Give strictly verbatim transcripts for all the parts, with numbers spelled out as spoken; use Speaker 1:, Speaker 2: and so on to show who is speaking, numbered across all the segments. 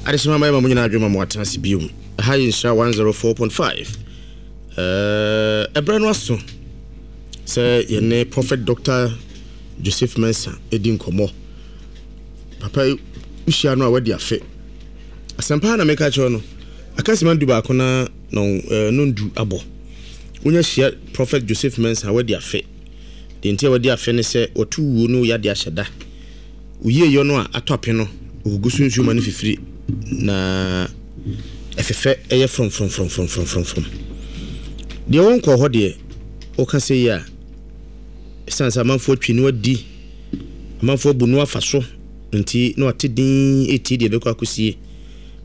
Speaker 1: Adehyema ma mo nyinaa adwuma ma watena ase biom. Ɛha yɛ Nhyira one oh four point five. Ɛberɛ no aso sɛ yɛne Prophet Doctor Joseph Mensah ɛdi nkɔmmɔ. Papa yi, wohyia no a, wadi afe. Asɛmpa na meka kyerɛ no, aka sima du baako na no ndu abɔ. Wonya hyia Prophet Joseph Mensah, wadi afe. Deɛ nti a wadi afe ne sɛ wɔto wuo ne woyade ahyɛ da. Woyie yɔ no a atɔ ape no, ɔgugu so nsuo ma no fifiri na ɛfefɛ, ɛyɛ frɔmfrɔmfrɔmfrɔmfrɔmfrɔm. Deɛ wɔnkɔɔ hɔ deɛ, woka sɛ yi a, ɛsiane sɛ amanfoɔ atwi no adi, amanfoɔ abu no afa so nti na wate din ɛtie deɛ ɛbɛkɔ akɔsie.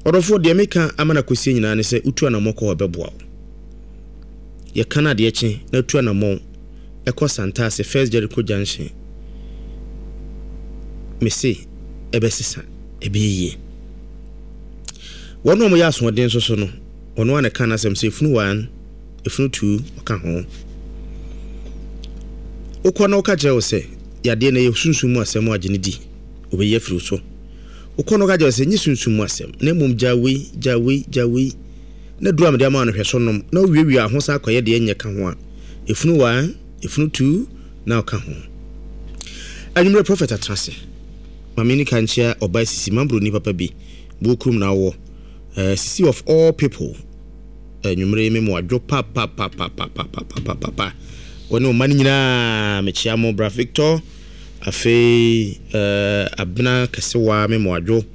Speaker 1: Ɔdɔfoɔ, deɛ meka ama no akɔsie nyinaa ne sɛ wotu anammɔ kɔ hɔ, ɛbɛboa wo. Yɛka no adeɛ kye na wotu anammɔn ɛkɔ Santase First Jericho Junction, mese ɛbɛsesa, ɛbɛyɛ yie. Wɔn a wɔyɛ asoɔden nso so no, ɔno a na ɛka n'asɛm sɛ efunu one, efunu two, ɔka ho. Wokɔ na woka kyerɛ wo sɛ yadeɛ no yɛ sunsum mu asɛm, agye ne di, obɛyi afiri wo so. Wokɔ na woka kyerɛ wo sɛ nye sunsum mu asɛm na mmom gya wei, gya wei, gya wei na duru a mede ama no, hwɛ so nom na wowiewie a ho san akɔyɛ deɛ nyɛ ka ho a, efunu one, efunu two na ɔka ho. Anwummerɛ Prophet atena ase. Maame ni ka nkyia ɔbaa Sisi Mambroni papa bi buo kurom na awɔ uh, Sisi of all people. Anwummerɛ yi me mo adwo papapapapapapapapa. Wɔne ɔma no nyinaa, mekyia mo. Bra Victor, afei uh, Abena Kɛsewa, me mo adwo.